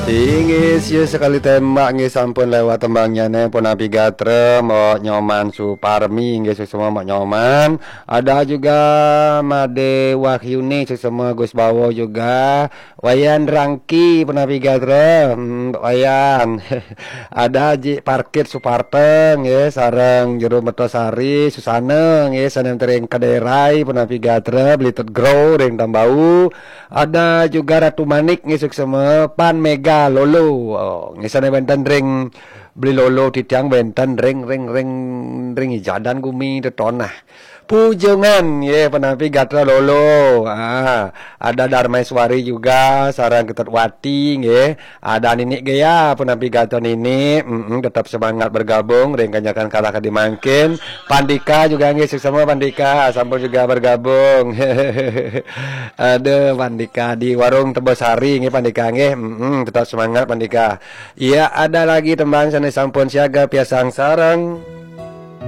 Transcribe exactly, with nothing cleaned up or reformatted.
Inggih, siya sekali tembak nggih sampun lewat tembangnya nih, punapi gatra, Mbok Nyoman Suparmi nggih, suksma Mbok Nyoman. Ada juga Made Wahyuni, suksma Gus Bawo juga. Wayan Rangki, punapi gatra, hmm, Wayan. Ada Ji Parkit Suparta nggih, sareng Jero Mertasari, Susana nggih, sanem tering Kaderai, punapi gatra, Belitet Grow, ring Tambau. Ada juga Ratu Manik nggih, suksma, Pan Mega Lolo. Oh, nggih, sané wénten ring Beli Lolo titiang wénten ring, ring, ring, ring Ijadan Gumi Tetonah. Pujongan nggih, punapi gatra Lolo. Ah, ada Darmaiswari juga, sareng Ketut Wati nggih. Ada Ninik Gea, punapi gatra Ninik. Mm-mm, tetap semangat bergabung ring Kanjakan Kalah Kadi Mangkin. Pandika juga nggih, suksma Pandika, sampun juga bergabung. Aduh, Pandika di warung Tebosari nggih, Pandika nggih. Mm-mm, tetap semangat Pandika. Iya, ada lagi tembang sané sampun siaga piasang sareng